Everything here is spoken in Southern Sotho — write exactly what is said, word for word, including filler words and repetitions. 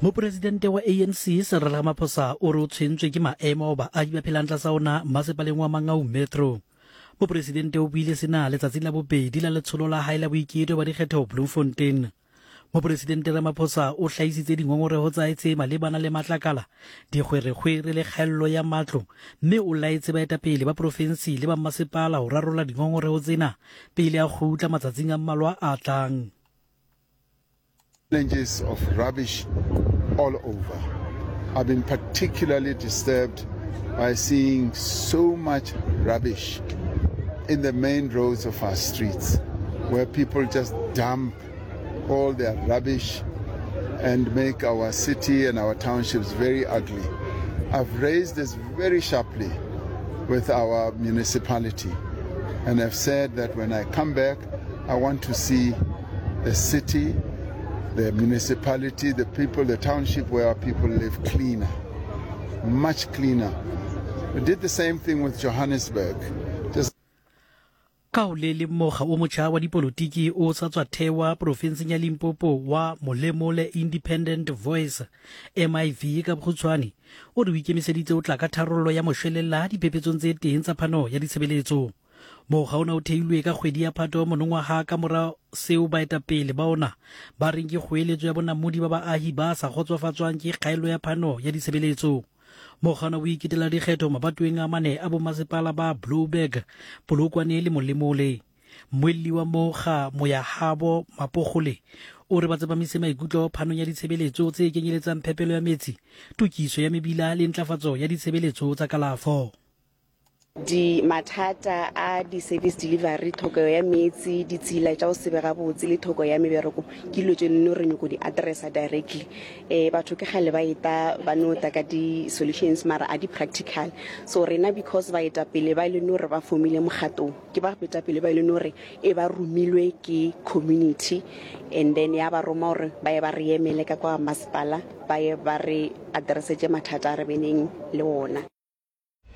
Mopresidente wa A N C Cyril Ramaphosa o re o tshwentswe ke maemo ao baahi ba phelang tlasa ona masepaleng wa Mangaung Metro. Mopresidente o buile sena letsatsing la bobedi la letsholo la hae la boiketo ba dikgetho Bloemfontein. Mopresidente Ramaphosa o hlahisitse dingongoreho tsa hae tse malebana le matlakala, dikgwerekgwere le kgaello ya matlo, mme o laetse baetapele ba profensi le ba mmasepala ho rarolla dingongoreho tsena pele a kgutla matsatsing a mmalwa a tlang. Challenges of rubbish all over. I've been particularly disturbed by seeing so much rubbish in the main roads of our streets, where people just dump all their rubbish and make our city and our townships very ugly. I've raised this very sharply with our municipality and I've said that when I come back, I want to see the city, the municipality, the people, the township where our people live cleaner, much cleaner. We did the same thing with Johannesburg. Just Ka ho le leng, mokga o motjha wa dipolotiki o sa tswa thewa profenseng ya Limpopo wa Molemole Independent Voice, M I V ka bokgutshwane, o re o ikemiseditse o tla ka tharollo ya moshwelella diphepetsong tse teng tsa phano ya ditshebeletso. Mokga ona o theilwe ka kgwedi ya Phato monongwaha ka mora seo baetapele ba ona ba reng ke kgoeletso ya bonamodi ba baahi ba sa kgotsofatswang ke kgaello ya phano ya ditshebeletso. Mokga ona o iketela dikgetho mabatoweng a mane a bomasepala ba Blouberg, Polokwane le Molemole. Mmuelli wa mokga, Moyahabo Mapogole, o re ba tsepamise maikutlo phanong ya ditshebeletso tse kenyeletsang phepelo ya metsi, tokiso ya mebila le ntlafatso ya ditshebeletso tsa kalafo. Di mathata a di-service delivery, tlhokego ya metsi, ditsela tša go se be gabotse le tlhoko ya mebereko ke dilo tse nno re nyako di addressa directly. um batho ke kgale ba eta ba no ta ka di-solutions, mara a di-practical. So rena, because baetapele ba e leng gore ba formile mokgatong, ke ba baetapele ba e leng gore e ba romilwe ke community and then ya ba roma gore ba ye ba re emele ka kwa masepala, ba ye ba re addressetse mathata a re beneng le ona.